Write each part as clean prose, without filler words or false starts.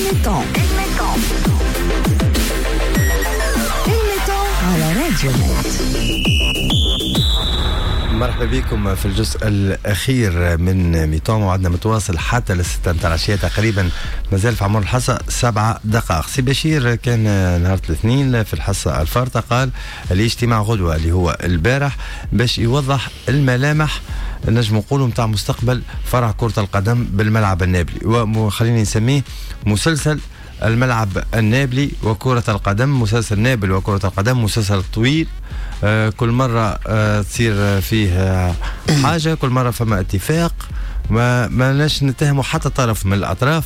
ال mi-temps ال mi-temps على راديو نت. مرحبا بكم في الجزء الأخير من mi-temps، وعدنا متواصل حتى للستة متاع العشية تقريبا، مازال في عمر الحصة 7 دقائق. سي بشير كان نهار الاثنين في الحصة الفارطة قال الاجتماع غدوة اللي هو البارح باش يوضح الملامح، نجم نقولوا، نتاع مستقبل فرع كرة القدم بالملعب النابلي، وخليني نسميه مسلسل الملعب النابلي وكرة القدم، مسلسل نابل وكرة القدم، مسلسل طويل، كل مرة تصير فيه حاجة، كل مرة فما اتفاق. ما ناش نتهموا حتى طرف من الأطراف،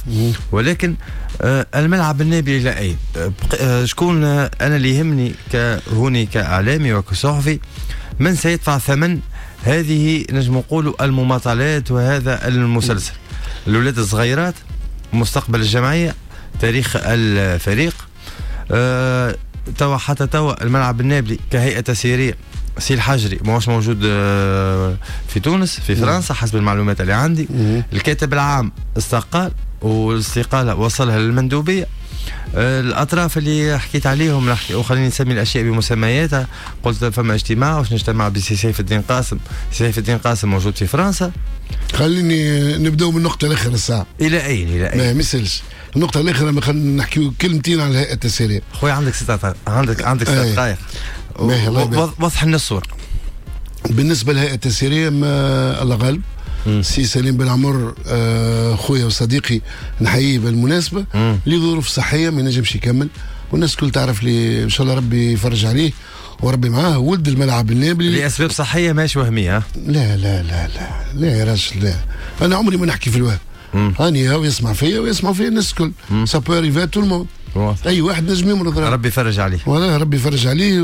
ولكن الملعب النابلي إلى أين؟ شكون أنا اللي يهمني كهوني كإعلامي وكصحفي، من سيدفع ثمن هذه نجم نقولوا المماطلات وهذا المسلسل؟ الأولاد الصغيرات، مستقبل الجمعية، تاريخ الفريق. توا حتى توا الملعب النابلي كهيئة تسييرية، سي الحجري ماهوش موجود في تونس، في فرنسا حسب المعلومات اللي عندي. الكاتب العام استقال والاستقالة وصلها للمندوبية. الأطراف اللي حكيت عليهم نحكي وخليني نسمي الأشياء بمسمياتها، قلت فما اجتماع واش نجتمع بسي سيف الدين قاسم، سيف الدين قاسم موجود في فرنسا. خليني نبداو من النقطة الأخيرة الساعة. إلى أين؟ إلى أين؟ ما يسالش، النقطة الأخيرة خلينا نحكيو كلمتين على الهيئة التسييرية. خويا عندك 6 دقائق. وضح لنا الصورة. بالنسبة للهيئة التسييرية، ما الله غالب، سي سليم بن عمر خويا وصديقي، نحييه بالمناسبة، لظروف صحية ما ينجمش يكمل، والناس الكل تعرف لي، ان شاء الله ربي يفرج عليه وربي معاه، ولد الملعب النابلي. لاسباب صحية ماشي وهميه. لا لا لا لا لا يا راجل، لا، انا عمري ما نحكي في الوهم. هاني هاو يسمع فيا ويسمع فيا الناس الكل، ça peut arriver à tout le monde، اي واحد نجم يمرض. ربي يفرج عليه. والله ربي يفرج عليه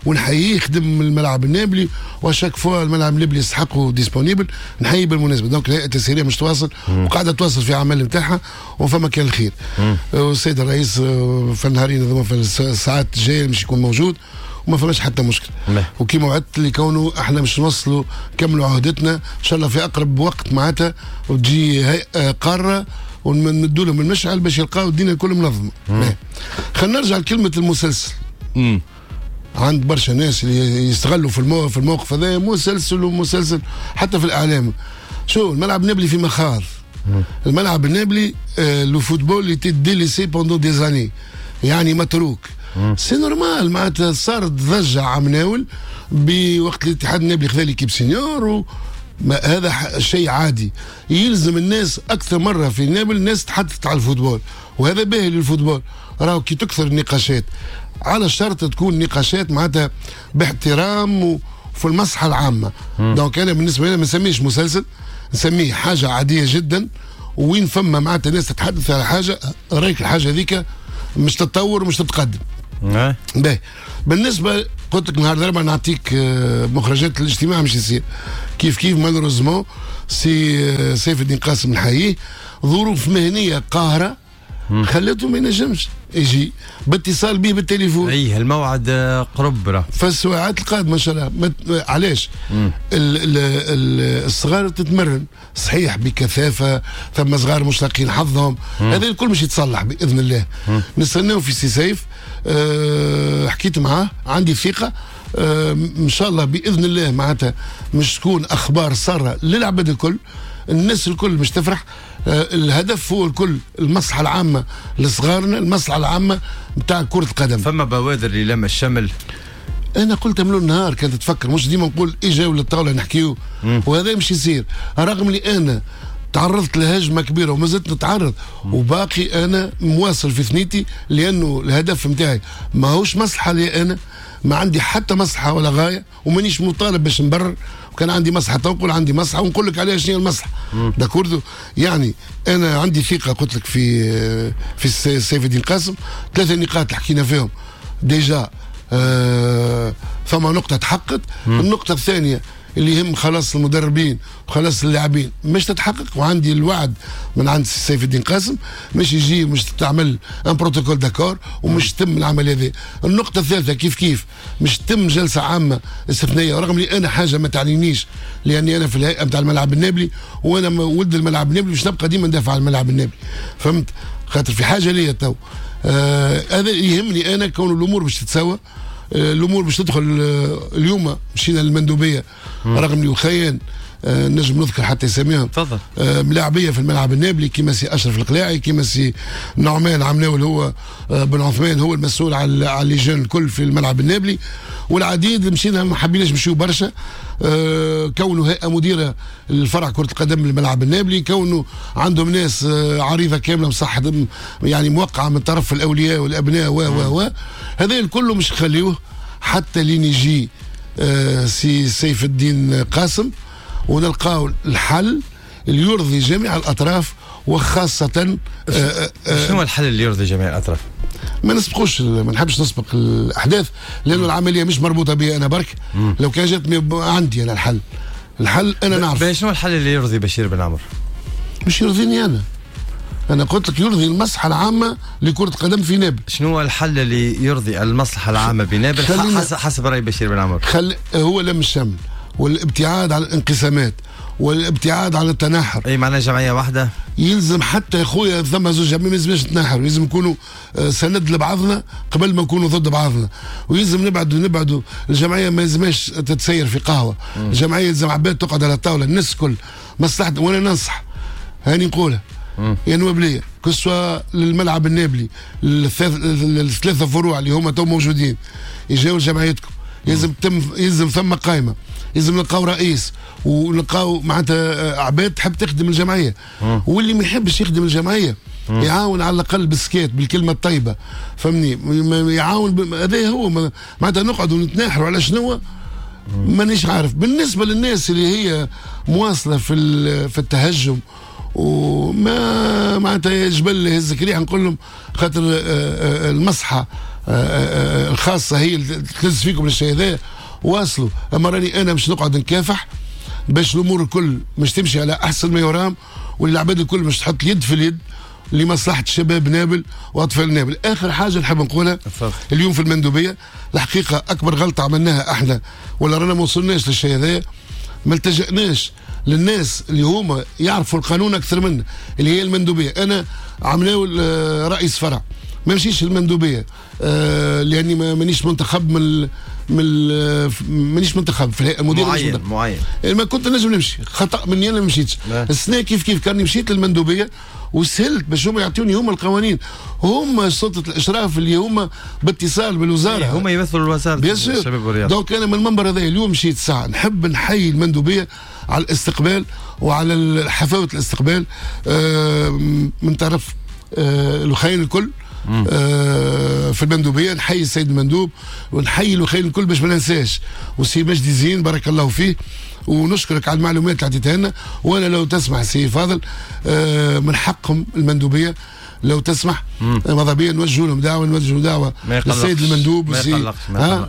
ونحييه، خدم الملعب النابلي و à chaque fois الملعب النابلي يستحقوا disponible، نحييه بالمناسبه. donc الهيئة التسييريه مش تواصل وقاعدة تواصل في اعمال نتاعها وفما كان الخير. والسيد الرئيس في النهارين هذوما، في الساعات الجاية مش يكون موجود وما فماش حتى مشكل. وكما وعدت اللي كونه احنا مش نوصلوا نكملوا عهدتنا ان شاء الله في اقرب وقت معناتها، وتجي هيئة قارة ونمدوا لهم المشعل باش يلقاو الدنيا الكل منظمه. خلينا نرجع لكلمة المسلسل. عند برشا ناس اللي يستغلوا في الموقف هذا، مسلسل ومسلسل، حتى في الاعلام. شو الملعب النابلي في مخاض. الملعب النابلي le football était délaissé pendant des années، يعني متروك. c'est normal، معناتها صارت ضجه عام ناول بوقت الاتحاد النابلي خذا l'équipe senior ما هذا شيء عادي. يلزم الناس اكثر مرة في نابل الناس تحدثت على ال football، وهذا باهي لل football. راهو كي تكثر النقاشات، على شرط تكون نقاشات معناتها باحترام وفي المصلحة العامه. donc انا بالنسبة لي ما نسميش مسلسل، نسميه حاجة عادية جدا، وين فما معناتها ناس تتحدث على حاجه، رايك الحاجة هذيك مش تتطور ومش تتقدم. باهي، بالنسبة قلت لك نهار الاربعاء نعطيك مخرجات الاجتماع مش يصير. كيف كيف malheureusement سي سيف الدين قاسم نحييه، ظروف مهنية قاهرة خلته ما ينجمش يجي، باتصال به بالتليفون. اي الموعد قرب راه. في الساعات القادمة ان شاء الله. علاش؟ الصغار تتمرن صحيح بكثافه، ثم صغار مش لاقيين حظهم، هذا الكل مش يتصلح باذن الله. نستناو في سي سيف. حكيت معاه، عندي ثقه، ان شاء الله باذن الله معناتها مش تكون اخبار ساره للعباد الكل، الناس الكل مش تفرح. الهدف هو الكل المصلحة العامة لصغارنا، المصلحة العامة نتاع كره القدم. فما بوادر للم الشمل؟ انا قلت من النهار، كانت تفكر مش ديما نقول اجاو للطاوله نحكيو، وهذا مش يصير، رغم اللي انا تعرضت لهجمه كبيرة وما زلت نتعرض، وباقي انا مواصل في ثنيتي، لانه الهدف نتاعي ماهوش مصلحة لي انا، ما عندي حتى مصلحة ولا غايه، ومانيش مطالب باش نبرر. وكان عندي مصلحة نقول عندي مصلحة ونقول لك عليها شنو هي المصلحه، d'accord؟ يعني انا عندي ثقه، قلت لك، في سيف الدين قاسم. ثلاثة نقاط اللي حكينا فيهم déjà، ثم نقطة تحققت. النقطة الثانية اللي يهم خلاص المدربين وخلاص اللاعبين مش تتحقق، وعندي الوعد من عند سيف الدين قاسم مش يجي مش تعمل un protocole d'accord ومش تتم العملية هذه. النقطة الثالثة كيف كيف مش تتم جلسه عامة استثنائيه، رغم لي انا حاجة ما تعنينيش، لاني انا في الهيئة نتاع الملعب النابلي وانا ولد الملعب النابلي، باش نبقى ديما ندافع على الملعب النابلي، فهمت؟ خاطر في حاجة ليا تو. هذا يهمني انا، كون الامور باش تتساوى، الامور باش تدخل. اليوم مشينا للمندوبيه رغم اللي وخيان نجم نذكر حتى يسميهم تفضل ملاعبيه في الملعب النابلي كيما سي اشرف القلاعي، كيما سي نعمان عمناول هو بن عثمان هو المسؤول على les jeunes الكل في الملعب النابلي والعديد. مشينا ما حبيناش نمشيو برشا، كونه هيئة مديره للفرع كره القدم للملعب النابلي، كونه عندهم ناس عريضة كاملة مصحة يعني موقعه من طرف الاولياء والابناء و و و هذا الكل مش نخليوه حتى لين يجي سي سيف الدين قاسم ونلقاو الحل اللي يرضي جميع الاطراف، وخاصة شنو الحل اللي يرضي جميع الاطراف؟ ما نسبقوش، ما نحبش نسبق الاحداث لانه العملية مش مربوطة بي انا برك. لو كان جات عندي انا الحل، الحل انا نعرف. شنو الحل اللي يرضي بشير بن عمر؟ مش يرضيني انا، انا قلت لك يرضي المصلحة العامة لكرة القدم في نابل. شنو هو الحل اللي يرضي المصلحة العامة بنابل حسب راي بشير بن عمر؟ هو لم الشمل والابتعاد عن الانقسامات والابتعاد عن التناحر. اي معناها جمعية واحدة يلزم حتى يا خويا ثم زوج جمعية ما يلزمش نتناحر، يلزم نكونوا سند لبعضنا قبل ما نكونوا ضد بعضنا، ويلزم نبعدوا الجمعية ما يلزمش تتسير في قهوة. الجمعية يلزم عباد تقعد على الطاولة الناس الكل مصلحة. وانا ننصح هاني نقولها يا نوابليه، que ce soit للملعب النابلي الثلاثة فروع اللي هما تو موجودين، يجاو جمعيتكم، يلزم ثم قائمة، يلزم نلقاو رئيس ونلقاو معناتها عباد تحب تخدم الجمعية. واللي ما يحبش يخدم الجمعية يعاون على الاقل بالسكات بالكلمة الطيبة، فهمني، يعاون. هذا هو معناتها نقعدوا نتناحروا على شنو مانيش عارف. بالنسبة للناس اللي هي مواصلة في التهجم وما معناتها جبل يهزك ريح، نقول لهم خاطر المصحه الخاصة هي اللي تلز فيكم للشيء هذا، واصلوا. اما راني انا مش نقعد نكافح باش الامور الكل مش تمشي على احسن ما يرام، والعباد الكل مش تحط اليد في اليد لمصلحة شباب نابل واطفال نابل. اخر حاجة نحب نقولها اليوم في المندوبيه، الحقيقة اكبر غلطه عملناها احنا ولا رانا ما وصلناش للشيء هذا، ما التجأناش للناس اللي هما يعرفوا القانون اكثر منا اللي هي المندوبيه. انا عملناو رئيس فرع ما مشيش المندوبيه لاني مانيش منتخب من مانيش منتخب في الهيئة المديرة معين ما كنت نجم نمشي، خطا مني انا ما مشيتش. السنة كيف كاني مشيت للمندوبيه وسهلت باش هما يعطوني هما القوانين، هما سلطة الاشراف اللي هما باتصال بالوزارة، هما يمثلوا الوزارة الشباب والرياضة. donc انا من المنبر هذا اليوم مشيت ساعة نحب نحيي المندوبيه على الاستقبال وعلى حفاوه الاستقبال من طرف الخيل الكل في المندوبيه. نحيي السيد المندوب ونحيي الوخيل الكل باش ما ننساش، وسي مجدي زين بارك الله فيه، ونشكرك على المعلومات اللي عطيتها لنا. وانا لو تسمح سي فاضل من حقهم المندوبيه لو تسمح ماذا بيا نوجهوا لهم دعوه، نوجهوا دعوه للسيد المندوب وسي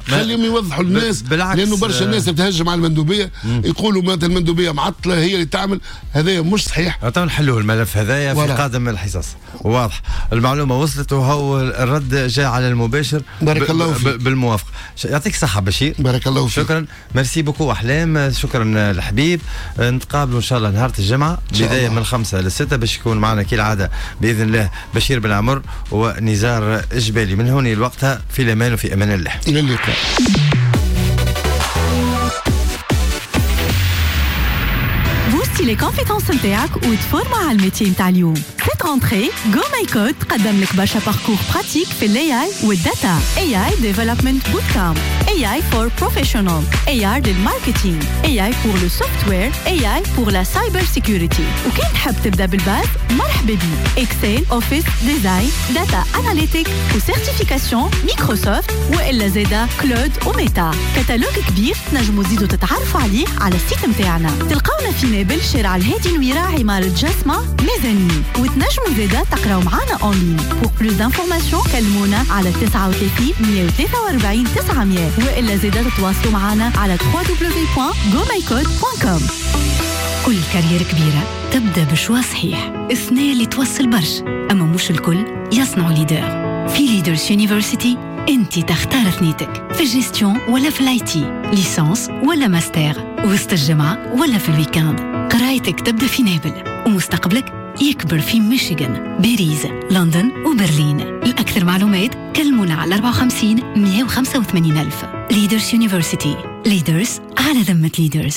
خليهم يوضحوا للناس، لانه برشا الناس تتهجم على المندوبيه يقولوا معناتها المندوبيه معطلة هي اللي تعمل، هذا مش صحيح. نحلوا الملف هذايا في قادم الحصص. واضح المعلومة وصلت وهو الرد جاء على المباشر. بارك الله فيك بالموافقة. يعطيك الصحة بشير، بارك الله فيك، شكرا، merci beaucoup احلام، شكرا الحبيب. نتقابلوا ان شاء الله نهار الجمعة بداية من 5 ل 6 باش يكون معنا كالعادة باذن الله بشير بن عمر ونزار جبالي. من هون لوقتها في الامان وفي امان الله، الى اللقاء. booster les compétences نتاعك وتفورما على ال métier نتاع اليوم. cette rentrée GoMyCode تقدم لك برشا parcours pratiques في ال AI وال data، AI development bootcamp، AI for professional، AI لل marketing، AI pour le software، AI pour la cyber security. وكان تحب تبدا بال base مرحبا بيك، Excel، Office، design، data analytic و certification Microsoft والا زادا cloud و Meta. catalogue كبير تنجموا تزيدوا تتعرفوا عليه على ال site نتاعنا. تلقاونا في نابل شارع الهادي نويرة عمارة جسمة ميزانين، وتنجموا زادا تقراو معانا en ligne. pour plus d'informations كلمونا على 39 143 900 والا زادا تتواصلوا معنا على www.gomycode.com. كل carrière كبيرة تبدأ ب choix صحيح، الثنية اللي توصل برش، أما مش الكل يصنعوا leader. في Leaders University أنت تختار ثنيتك، في الجستيون ولا في ال IT، licence ولا ماستر، وسط الجمعة ولا في ال week-end. قرايتك تبدأ في نابل ومستقبلك يكبر في ميشيغان. باريس، لندن وبرلين. لأكثر معلومات كلمونا على 54 185 ألف. Leaders University، Leaders على ذمة Leaders.